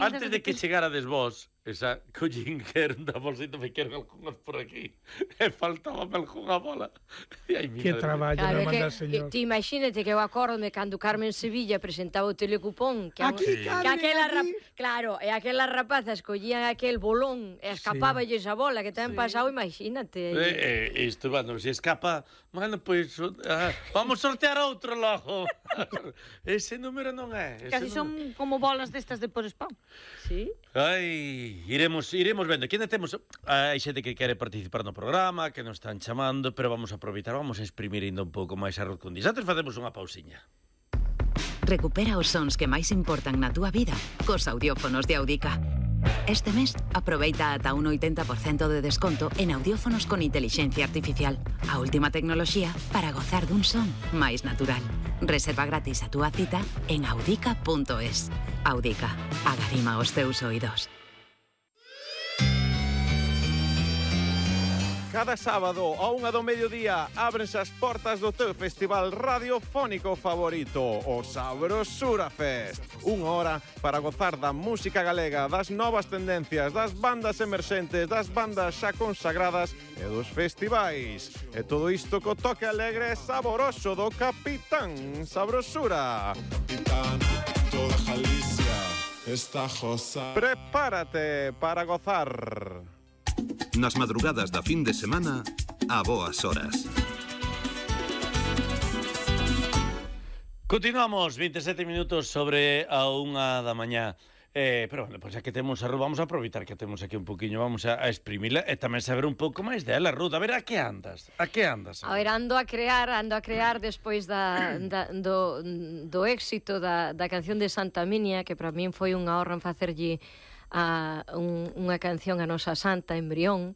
Antes de que chegarades vos, esa collín que era da bolsita, me quero algunhas por aquí. E faltábame algunha bola. Que traballo me manda el señor. Ti imagínate que eu acórdome cando Carmen Sevilla presentaba o telecupón, que aquí, Carmen, claro, e aquelas rapazas collían aquel bolón e escapáballes a bola, que tamén pasado, imagínate. Isto, bueno, se escapa, bueno, pois vamos sortear outro logo. Ese número non é. Casi son como bolas destas de por spam. Sí. Ai, iremos vendo. Que ainda temos hai xente que quere participar no programa, que nos están chamando, pero vamos a aproveitar, vamos a exprimir ainda un pouco máis arroz con dis. Antes facemos unha pausiña. Recupera os sons que máis importan na túa vida cos audiófonos de Audica. Este mes, aproveita ata un 80% de desconto en audiófonos con inteligencia artificial. A última tecnoloxía para gozar dun son máis natural. Reserva gratis a túa cita en audica.es. Audica, agarima os teus oídos. Cada sábado a 1 do mediodía ábrense as portas do teu festival radiofónico favorito, o Sabrosura Fest. Unha hora para gozar da música galega, das novas tendencias, das bandas emerxentes, das bandas xa consagradas e dos festivais. E todo isto co toque alegre e saboroso do Capitán Sabrosura. Capitán, toda Galicia está josa. Prepárate para gozar. Nas madrugadas da fin de semana, a boas horas. Continuamos, 27 minutos sobre a 1 da mañá. Pero, bueno, pois que temos a Ruth, vamos a aproveitar que temos aquí un poquinho, vamos a exprimila e tamén saber un pouco máis dela, Ruth. A ver, a que andas? A que andas? A ver, ando a crear despois do éxito da canción de Santa Minia, que para min foi unha honra en facerlle unha canción a nosa santa, Embrión.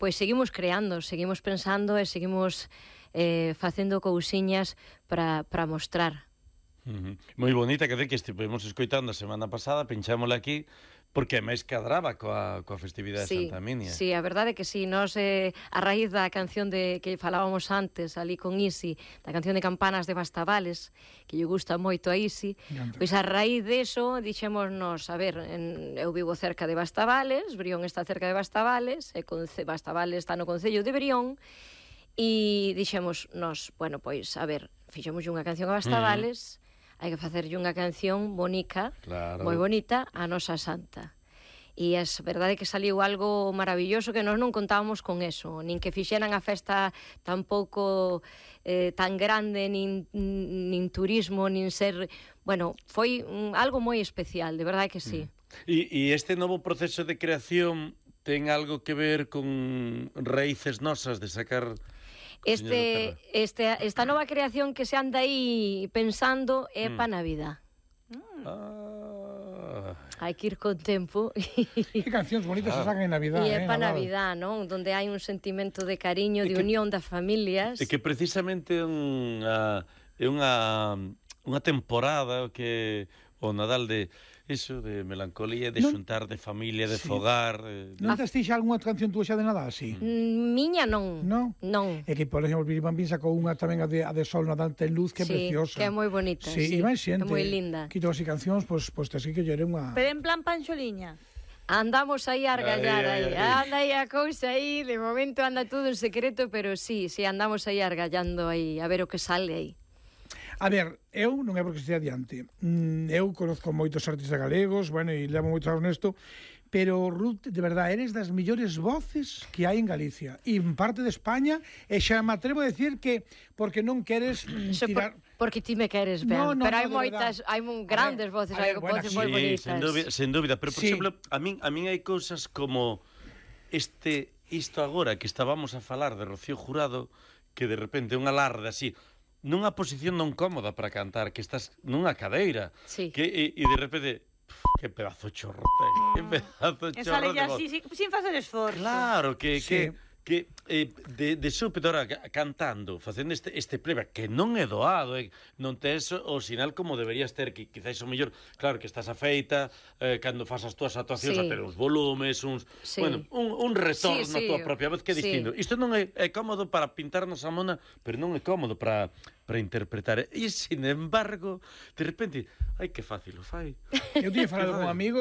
Pois seguimos creando, seguimos pensando e seguimos facendo cousiñas para mostrar. Moi bonita, que estivemos escoitando a semana pasada, pinchámola aquí, porque máis cadraba coa festividade de Santa Minia. Sí, a verdade é que sí, nos a raíz da canción que falábamos antes ali con Isi, da canción de Campanas de Bastavales, que lle gusta moito a Isi, pois a raíz deso dixémonos, a ver, eu vivo cerca de Bastavales, Brión está cerca de Bastavales, e Bastavales está no concello de Brión, e dixemos nos, bueno, pois, a ver, fixemos unha canción a Bastavales, hai que facerlle unha canción bonica, claro, moi bonita, a nosa santa. E é verdade que saliu algo maravilloso, que nós non contábamos con eso, nin que fixeran a festa tampouco tan grande, nin turismo, nin ser... Bueno, foi algo moi especial, de verdade que sí. E este novo proceso de creación ten algo que ver con raíces nosas de sacar... Esta nova creación que se anda aí pensando é pa Navidad. Hai que ir con tempo. Que cancións bonitas se sacan en Navidad. E é pa Navidad, non? Donde hai un sentimento de cariño, de unión das familias. E que precisamente é unha temporada que o Nadal de iso, de melancolía, de xuntar, de familia, de fogar... Non te estixa algunha canción túa xa de Nadal, sí? Miña non. Non? Non. É que, por exemplo, Billy Bambín sacou unha tamén a de Sol Nadal ten luz, que é preciosa. Sí, que é moi bonita. Sí, e máis xente. É moi linda. Quito así cancións, pois te así que lle unha... Pero en plan panxoliña. Andamos aí a argallar aí. Anda aí a cousa aí, de momento anda todo en secreto, pero sí, andamos aí argallando aí, a ver o que sale aí. A ver, eu non é porque estea adiante. Eu conozco moitos artistas galegos, bueno, e levo moitos anos nesto, pero, Ruth, de verdade, eres das mellores voces que hai en Galicia, e en parte de España, e xa me atrevo a decir que porque non queres tirar... Porque ti me queres ben, pero hai moitas, hai grandes voces, hai voces moi bonitas. Sen dúbida, pero, por exemplo, a min hai cousas como isto agora que estábamos a falar de Rocío Jurado, que de repente un alarde así... nunha posición non cómoda para cantar, que estás nunha cadeira, que e de repente, que pedazo chorro ten, que pedazo chorro. E sale así, sin facer esforzo. Claro, que que de súpeto ahora cantando, facendo este playback que non é doado, non tes o sinal como deberías ter, que quizáis o mellor, claro que estás afeita, cando fas as túas actuacións a ter uns volumes, bueno, un retorno a túa propia voz que é distinto. Isto non é cómodo para pintarnos a mona, pero non é cómodo para interpretar. E, sin embargo, de repente, ai, que fácil o fai. Eu tinha falado con un amigo